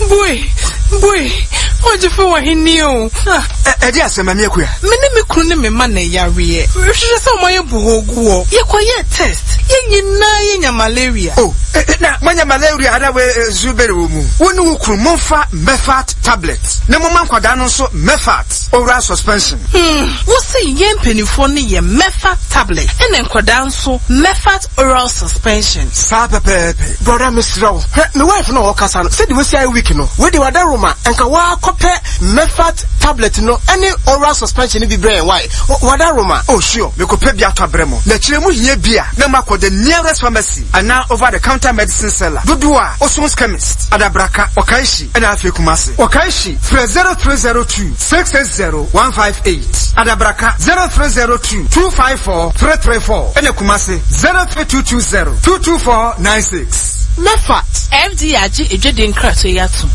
Bue! Bue! Ɔgyefo wɔ he ni o? Ah. Ɛdeɛn asɛm, Maame Akua? Me ne me kunu ne me mma na ɛyareɛ. Hwehwɛ sɛ wɔayɛ bohoo gu hɔ. Yɛkɔyɛɛ test. Yɛn nyinaa yɛnya malaria. Oh, na moanya malaria anaa wei nso bɛn wɔ mu? Wo ne wo kunu momfa Mefat tablet na momma nkwadaa no nso Mefat oral suspension. Hmm, wo se yɛn mpanimfoɔ no yɛ Mefat tablet ɛna nkwadaa nso Mefat oral suspension. Saa pɛpɛɛpɛ. Brɔda mesrɛ wo, hwɛ me wife no a ɔkasa no, sɛdeɛ wasi ayɛ weak no, wei deɛ w'adaworoma, nka waa kɔpɛ Mefat tablet no ɛne oral suspension no bi brɛ yɛn wai, w'adaworoma. Oh sure, mekɔpɛ bi atɔ abrɛ mo, na kyerɛ mo hia bi a na moakɔ the nearest pharmacy anaa over the counter medicine seller dodoɔ a Oson's chemist, Adabraka, Okaishie ɛna afei Kumasi. Okaishie, frɛ 0302 660 158, Adabraka 0302 254 334 ɛna Kumasi 03220 224 96. Mefat. FDA agye adwadie nkratoɔ yi atom.